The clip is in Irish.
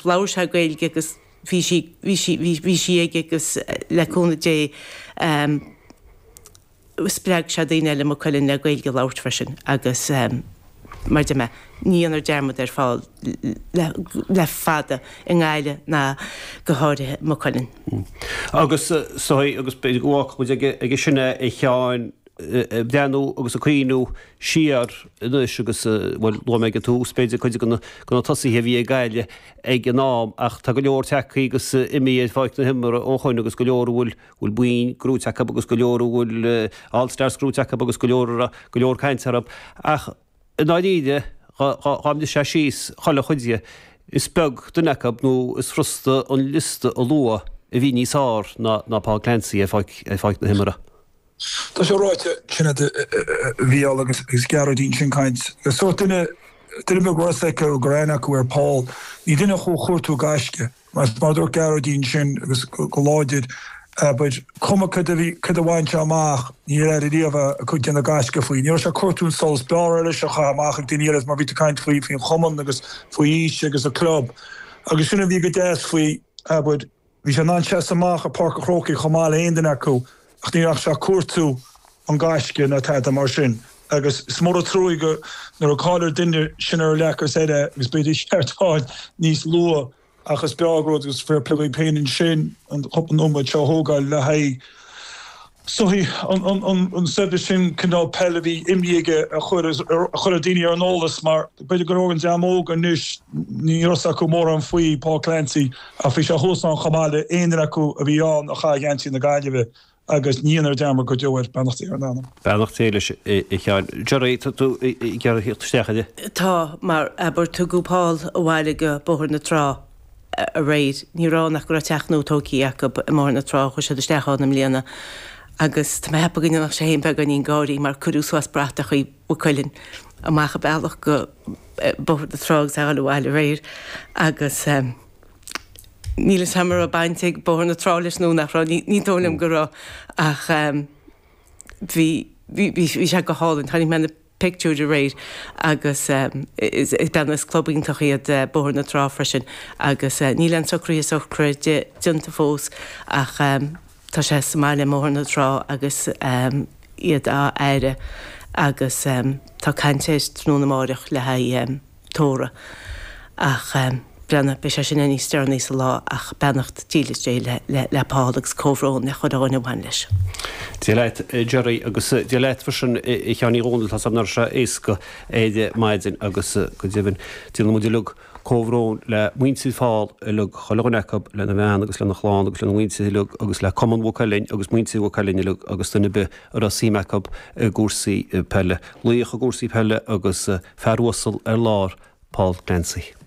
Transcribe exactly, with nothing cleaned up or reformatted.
Labhair sé Gaeilge agus bhí sí bhí sí bhí sí aige agus le cúnamh Dé spreag sé daoine eile i Maigh Cuilinn le Gaeilge a labhairt freisin agus mar a deir mé, ní dhéanfar dearmad ar Phól le fada i nGaillimh ná go háirithe i Maigh Cuilinn. Agus so agus b'fhéidir go bhfágfadh muid aige sin é a Sheáin, ag breathnú agus ag cuimhniú siar anois agus, bhuel, luaigh mé ag an tús, b'fhéidir, cuid de na tosaithe a bhí ag Gaillimh ag an am ach tá go leor tagtha agus imithe ar pháirc na himeartha ó shoin agus go leor a bhfuil bhfuil boinn gnóite acu agus go leor a bhfuil All Stars gnóite acu agus go leor a raibh go leor cainte orthu. Ach i ndáiríre, dhá mbrisfeá síos chuile chuid dhe, is beag duine acu nó is furasta an liosta a lua a bhí níos fearr ná Paul Clancy ar pháirc na himeartha. Tá sé ráite, Sinéad, a Mhícheáil agus Gearóidín sin caint. Sórt duine, duine beag raibh fhios acu go raibh aithne acu ar Paul. Ní duine a chuaigh chuartú gaisce. Mar a dúirt Gearóidín sin agus go láidir, abair, cuma cad a bhí, cad a bhain sé amach, ní raibh air riamh a chuid déanamh gaisce faoi. Ní raibh sé ag cuartú an solais, b'fhearr leis a chaitheamh amach ag daoine eile mar bhí tú ag caint faoi, faoin chumann agus faoi aois agus a club. Agus sin a bhí go deas faoi, abair, Bhí sé in ann seasamh amach i Páirc an Chrócaigh chomh maith le haon duine acu ach ní raibh sé ag cuartú an gaisce ná tada mar sin agus is mór an truaigh go nuair a cailleadh duine sin ar leac is eile agus b'fhéidir ceart fáil níos luath ach is breá an rud agus fair play dhaoib féin ansin an cúpla nóiméad seo a thógáil le haghaidh soithí an saibhreas sin cineál peil a bhí imithe aige a chur a chur ar daoine ar an eolas mar b'fhéidir go leor den dream óg anois ní raibh fhios acu mórán faoi Paul Clancy ach bhí sé thuas ann chomh maith le aon duine acu a bhí ann a chaith geansaí na Gaillimhe agus ní dhéanfar dearmad go deo air. Beannacht Dé ar a anam. Beannacht Dé leis a Sheáin. Gerry, tá tú ag iarraidh theacht isteach air? Tá, mar abair tugadh Paul abhaile go Bóthar na Trá. aréir. Ní raibh ann ach go raibh teach nua tógtha acu i mBóthar na Trá, chuaigh siad isteach ann i mbliana agus tá mé ag ceapadh go ndéanfadh sé féin beagáinín gáirí mar cuireadh suas bratachaí Mhaigh Cuilinn amach an bealach go Bóthar na Trá agus é a dhul abhaile aréir agus níl fhios a'm an raibh baint ag Bóthar na Trá leis nó nach raibh, ní dóigh liom go raibh ach bhí, bhí, bhí sé go hálainn. Chonaic mé na. pictiúir aréir agus is bean is club iontach iad Bóthar na Trá freisin agus níl aon socruithe sochraide déanta fós ach tá sé sa mbaile i mBóthar na Trá agus iad á fhaire agus tá caint air tráthnóna amáireach le haghaidh tórramh ach breathnaigh, beidh sé sin níos deireanaí sa lá ach beannacht dílis Dé le Paul agus comhbhrón le chuile dhuine a bhain leis. Dia leat Gerry agus Dia leat freisin a Sheáin Uí Dhónaill, tá 's agam nach raibh sé éasca ar maidin agus go deimhin déanann muid uilig comhbhrón le muintir Phól uilig, chuile dhuine acu, lena bhean agus lena chlann agus lena mhuintir uilig agus le Cumann Mhaigh Cuilinn agus muintir Mhaigh Cuilinn uilig agus duine ar bith a raibh suim acu i gcúrsaí peile. Laoch i gcúrsaí peile agus fear uasal ar lár, Paul Clancy.